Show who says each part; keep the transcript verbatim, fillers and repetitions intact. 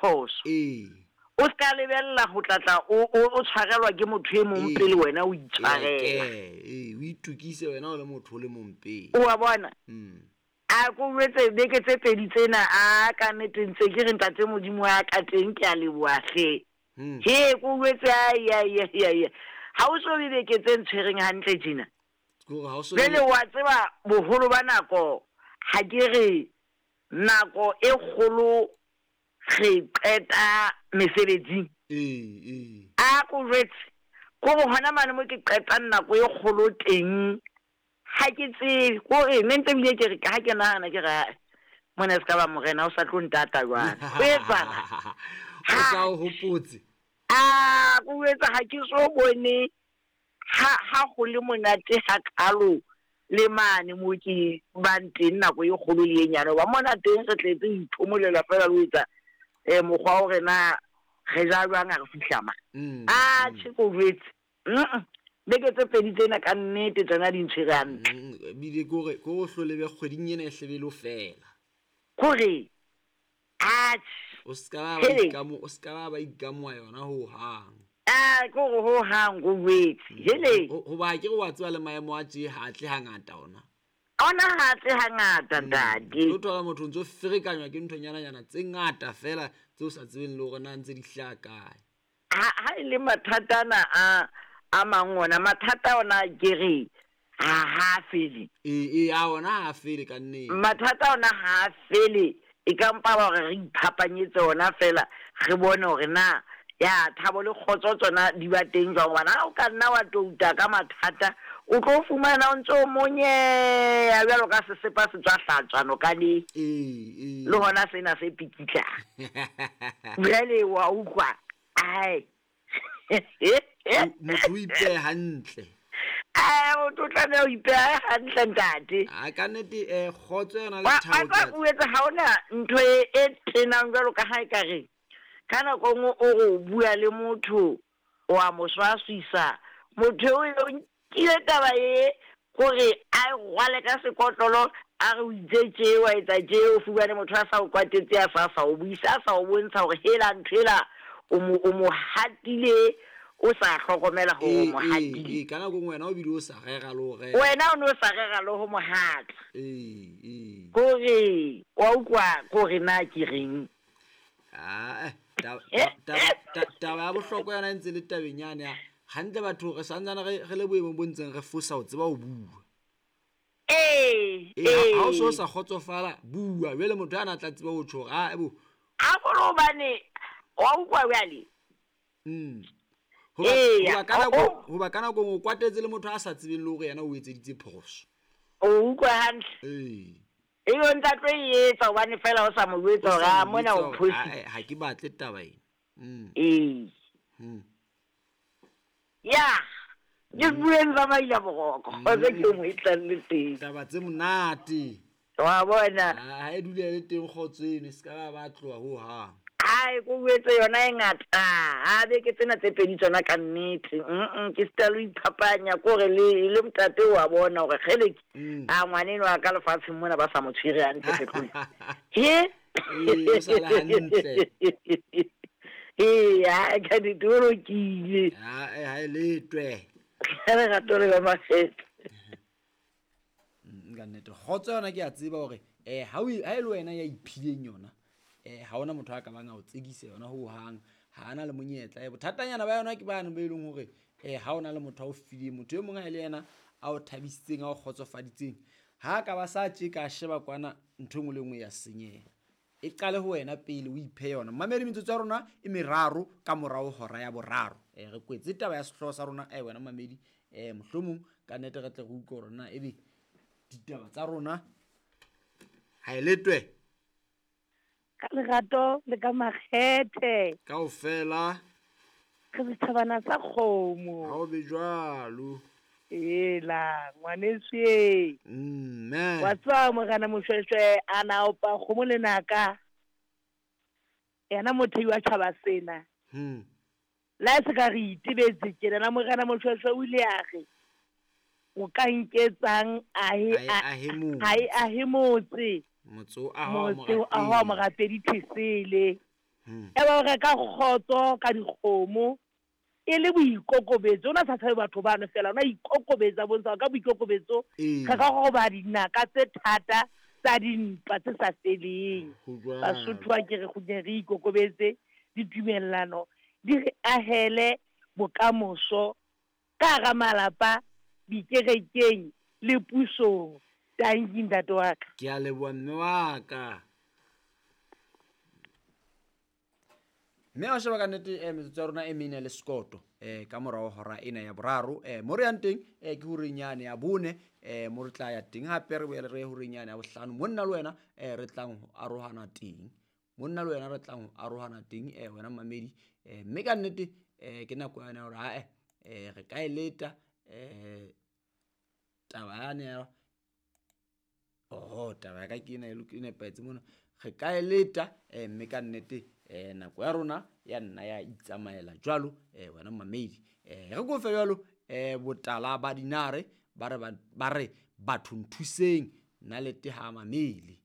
Speaker 1: phoso.
Speaker 2: Ee.
Speaker 1: O ska lebella ho tlatla o o tshwarelwa ke motho e mong pele wena o itshwarela.
Speaker 2: Ee, o itukise wena o le motho o le mong pele.
Speaker 1: O wa bona?
Speaker 2: Mm.
Speaker 1: A ko jwetse beke tse pedi tsena a ka nnete ntse ke re ntate Modimo wa ka teng ke a leboha hle.
Speaker 2: Mm.
Speaker 1: He ko jwetse ai ai ai ai. Ha o so be beke tse ntshwereng hantle tjena.
Speaker 2: Ke hore ha o so
Speaker 1: Jwale wa tseba boholo ba nako ha ke re nako e kgolo re qeta mesebetsing.
Speaker 2: Ee, ee.
Speaker 1: A ko jwetse ko re hona mane mo ke qetang nako e kgolo teng ha ke tsebe ko re ne ntse ebile ke re ha ke nahana ke re ae, mona se ka ba morena o sa tlo ntata jwale. Ho etsahala?
Speaker 2: O sa o hopotse.
Speaker 1: A ko jwetse ha ke so bone ha ha ho le monate hakalo le mane mo ke bang teng nako e kgolo le e nyane. Hoba mona teng re tletse ho iphomolela feela le ho etsa eh mokgwa wa hore na re ja jwang ha re fihla ma.
Speaker 2: Mm.
Speaker 1: A tjhe ko jwetse. Mm. Beke tse pedi tsena ka nnete tsona di ntshwere hantle.
Speaker 2: Mm, ebile ke hore ke hore o hlole be kgweding ena e hlebe le ho fela.
Speaker 1: Kore atjhe.
Speaker 2: O ska ba ba
Speaker 1: Hele.
Speaker 2: ikamo, o ska ba ba ikamoha yona ho hang.
Speaker 1: Ah, ke hore ho hang ko jwetse. Hele.
Speaker 2: Ho hoba ke re wa tseba le maemo a tje ha tle hangata ona.
Speaker 1: Ona ha tle hangata ntate.
Speaker 2: O thola motho o ntso ferekanywa ke nthonyana-nyana tse ngata feela tse o sa tsebeng le hore na ntse di hlaha kae.
Speaker 1: Ha ha e le mathata ana a a mang ona mathata ona ke re ha ha fele.
Speaker 2: Ee, ee, a ona ha fele ka nnete.
Speaker 1: Mathata ona ha fele e ka mpa ba hore re iphapanyetse ona feela re bone hore na ya thabo le kgotso tsona di ba teng jwang. Hobane ha o ka nna wa touta ka mathata o tlo fumana o ntso monyeha jwalo ka sesepa se tswa hlatswa nokaneng.
Speaker 2: Ee, ee.
Speaker 1: Le hona sena se pikitlang. Jwale wa utlwa ai.
Speaker 2: Motho o ipehe hantle.
Speaker 1: Ai, motho o tlameha ho ipeha hantle ntate.
Speaker 2: A ka nnete eh kgotso yona le
Speaker 1: Wa
Speaker 2: thabo
Speaker 1: wa
Speaker 2: ke
Speaker 1: o etsa ha hona ntho e e tenang jwalo ka ha ekare ka nako e nngwe o re o bua le motho o a mo swaswisa. Motho eo o nkile taba e hore a e rwale ka sekotlolo a re o itse tje wa etsa tje o fumane motho a sa o kwatetse a sa sa o buisa a sa o bontsha hore hela ntho ela o mo o mo hatile o sa hlokomela hore o
Speaker 2: Ee,
Speaker 1: mo
Speaker 2: ee,
Speaker 1: hatile.
Speaker 2: ee, ka nako e nngwe wena o bile o sa rera le ho rera.
Speaker 1: Wena o no sa rera le ho mo hata.
Speaker 2: Ee, ee.
Speaker 1: Kore wa utlwa kore na ke reng?
Speaker 2: Ah, eh, taba taba taba taba ya bohlokwa yona e ntse le tabeng yane ya hantle batho re santsane re re le boemong bo ntseng re fosa ho tseba ho bua.
Speaker 1: Ee,
Speaker 2: Ee, ha o so
Speaker 1: ee.
Speaker 2: sa kgotsofala bua jwale motho ana a tla tseba ho tjho hore ah ebo.
Speaker 1: Haholo hobane wa utlwa jwale.
Speaker 2: Mm. Hoba
Speaker 1: Eya,
Speaker 2: hoba ka
Speaker 1: o
Speaker 2: nako
Speaker 1: o
Speaker 2: hoba ka nako o kwatetse le motho a sa tsebeng le hore yena o etseditse phoso.
Speaker 1: O utlwa hantle.
Speaker 2: Ee.
Speaker 1: Ebe o ntsa tlo e etsa hobane feela o sa mo jwetsa
Speaker 2: O
Speaker 1: hore
Speaker 2: sa
Speaker 1: a
Speaker 2: mo
Speaker 1: mona
Speaker 2: jwetsa
Speaker 1: o
Speaker 2: hore,
Speaker 1: phositse.
Speaker 2: "Ah, eh, ha ke batle taba ena." Mm.
Speaker 1: Ee.
Speaker 2: Mm.
Speaker 1: Ya. Ke bueng tsa maila boroko. Kgotso ke mo e tlang le teng.
Speaker 2: Taba tse monate.
Speaker 1: Wa bona.
Speaker 2: Ah, ha e dule le teng kgotso eno e ska ba ba tloha ho hang.
Speaker 1: Ai ko jwetse yona e ngata. Ha beke tsena tse pedi tsona ka nnete. Mm ke sita le iphapanya kore le le ntate wa bona hore kgele
Speaker 2: Mm.
Speaker 1: a ngwaneno wa ka lefatsheng mona ba sa mo tshwere hantle kgetlong. He?
Speaker 2: Ee, o sa le hantle.
Speaker 1: Ee, ha ka nnete o lokile.
Speaker 2: Ah, eh, ha e letwe.
Speaker 1: Ka lerato le ka makgethe.
Speaker 2: Mm, ka nnete kgotso yona ke a tseba hore eh ha o ha e le wena ya iphileng yona eh ha hona motho a ka bang a o tsekise yona ho hang ha ana le monyetla. Eh bothatanyana ba yona ke bane ba eleng hore eh ha ona le motho a o fileng motho e mong ha e le yena a o thabisitseng a o kgotsofaditseng ha ka ba sa tje ka sheba kwana ntho e nngwe le nngwe ya senyeha. E qale ho wena pele o iphe yona. Mamedi metsotso ya rona e meraro ka morao hora ya boraro. Eh re kwetse taba ya sehlooho sa rona eh wena mamedi eh mohlomong ka nnete re tle re utlwe hore na ebe ditaba tsa rona ha e letwe
Speaker 3: Ka lerato le ka makgethe.
Speaker 2: Kaofela
Speaker 3: Re setjhabana sa kgomo.
Speaker 2: Ha o be jwalo.
Speaker 3: Ela ngwaneso e.
Speaker 2: Mme.
Speaker 3: Wa tswa morena Moshweshwe a na opa kgomo le naka. Yena motho wa tjhaba sena.
Speaker 2: Hmm.
Speaker 3: La se ka re itebetse tjena morena Moshweshwe o ile a re o ka nketsang ahe
Speaker 2: Ahe motse.
Speaker 3: ahe ahe motse.
Speaker 2: Motse o ahwa
Speaker 3: Motse o ahwa morapedi Thesele. E ba o reka kgotso ka dikgomo e le boikokobetso. O na sa tshabe batho bano fela, o na ikokobetsa, bontsha ka boikokobetso
Speaker 2: Ee.
Speaker 3: re ka roba dinaka tse thata tsa dintwa tse sa feleng.
Speaker 2: Ho jwalo.
Speaker 3: Basotho ba ke re kgutleng re ikokobetse, ditumellano di re ahele bokamoso ka hara malapa, dikerekeng le pusong. Tanki ntate wa ka.
Speaker 2: Ke a leboha mme wa ka. Mme wa sheba ka nnete eh, metsotso ya rona e mene le sekoto eh, ka morao hora ena ya boraro. eh, mo re yang teng eh, ke horeng yane ya bone, eh, mo re tla ya teng hape re boele re ye horeng yane ya bohlano. Monna le wena eh, re tlang ho arohana teng, monna le wena re tlang ho arohana teng eh, wena mamedi. eh, mme ka nnete eh, ke nako yane ya hore ae eh, re ka e leta eh, taba yane ya oho, taba ya ka ke ena e loke- e nepahetse mona. Re ka e leta eh, mme ka nnete eh, nako ya rona ya nna ya itsamaela jwalo eh, wena mamedi. eh, re kofe jwalo eh, botala ba dinare ba re ba- ba re batho nthuseng nna lete ha mamele.